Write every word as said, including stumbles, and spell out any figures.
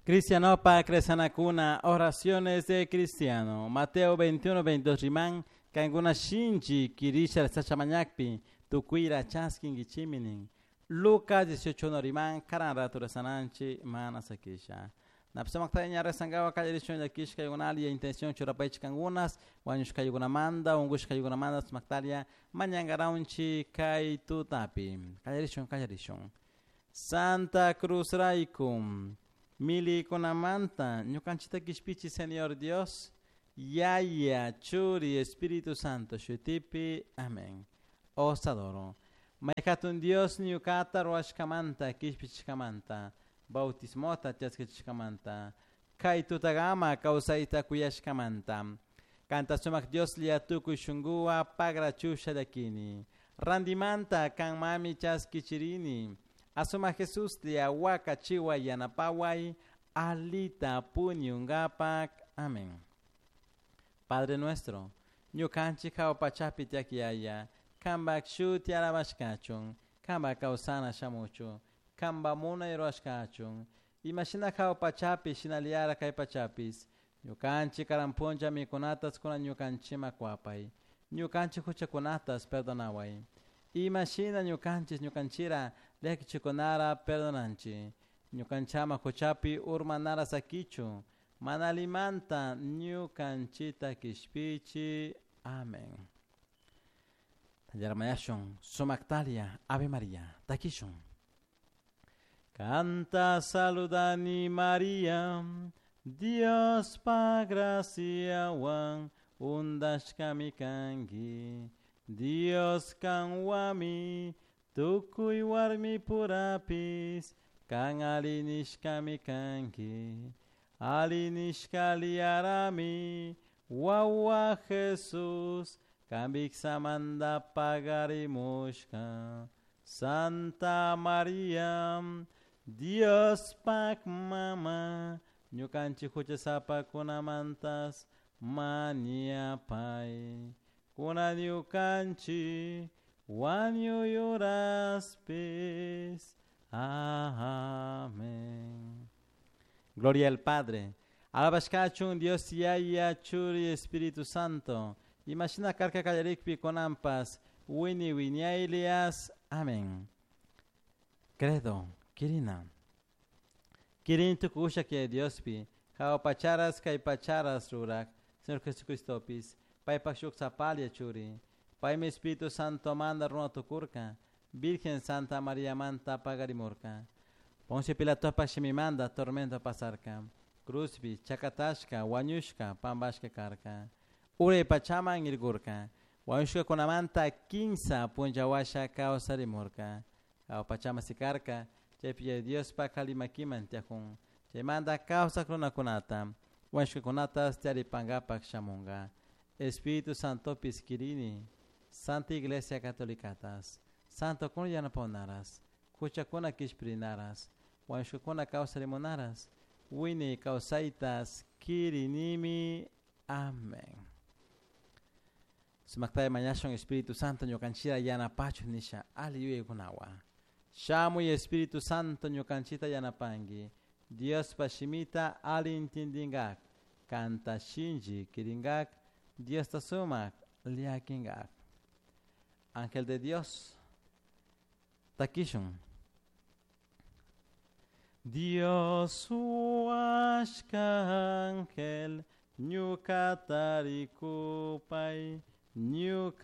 Cristianopa Cresanacuna, oraciones de cristiano. Mateo veintiuno, veintidós riman, kankuna shinchi kirisha sachamañakpi, tukuira chaskinkichiminin. Lucas dieciocho uno riman, karan rato rezananchi, mana sakisha. Napsamaktaña rezangawa kallarishun llakishka yugunalia intención churapaychi kangunas, wañushka yugunamanda, ungushka yugunamanda, sumaktalia, mañangaraunchi kay tutapi. Kallarishun, kallarishun. Santa Cruz raykum, milikunamanta, ñukanchita kishpichi Señor Dios, Yaya, Churi, Espíritu Santo, shutipi, amén. Os adoro. Mayhatun Dios ñukata ruwashkamanta, kishpichishkamanta, bautismota chaskichishkamanta, kay tutagama kawsayta kuyashkamanta. Kanta sumak Dios lia tukuy shunkuwa pagrachusha llakini. Randimanta kan mami chaskichirini. Asuma Jesús lia waka chiwa yanapaway, alita puñungapak. Amén. Padre nuestro, ñukanchik hawa pachapi tiak yaya, kambak shuti alabashkachun, kamba kawsana shamuchu, kamba munay ruwashkachun, imashina hawa pachapi shinallara kay pachapis, ñukanchik karan puncha mikunatas kuna ñukanchima kuapay, ñukanchik huchakunatas perdonaway, imashina ñukanchis ñukanchira llakichikunara perdonanchi, ñukanchama huchapi urmanara sakichu, manalimanta ñukanchita kishpichi. Amén. Yarmayashun, Sumaktalia, Ave María, Takishun. Canta saludani María, Dios pa gracia wan, undashkami kanki, Dios kanwami, tukuy warmi purapis, kan alinishkami kanki, alinishkaliarami, wawa Jesús, kambiksamanda pagarimushka, Santa María, Dios pak mama, ñukanchik huchasapakunamantas mañapay, kuna ñukanchik wañuyuraspis. Amén. Gloria al Padre. Alabashkachun Dios Yaya, Churi, Espíritu Santo. Imashina karka kallarikpi konampas, wini wiñaylias. Amén. Credo, Kirina. Kirin tukusha que Diospi, hawa pacharas kay pacharas rurak, Señor Jesucristopis, paypak shuk sapalia churi, paymi Espíritu Santo manda runa tukurka, Virgen Santa María manta pagarimurka. Poncio Pilatopa shimimanda tormento pasarka, cruzpi, chakatashka, wañushka, pambashka karka. Uray pachaman irgurka, wañushka kunamanta kinsa punchawasha kawsarimurka. Hawa pachama sikarka, chaypi Diospa kalimakiman tiajun, chaymanta kawsak runakunata, wañushkakunatas tiaripankapak shamunka. Espíritu Santopis kirini, Santa Iglesia Catolicatas, Santo kun yanapaonaras, huchakuna kishpirinaras, wañushkakuna kawsarimunaras, wini kawsaytas kirinimi. Amén. Sumaktay mañashun Espíritu Santo ñukanchira yanapachu nisha ali yuyaykunawa. Shamuy Espíritu Santo ñukanchita yanapanki, Diospa shimita ali intindingak, kanta shinchi kiringak, Diosta sumak llakingak. Ángel de Dios, takishun. Dios huashka ángel, ñukata rikupay, ñuka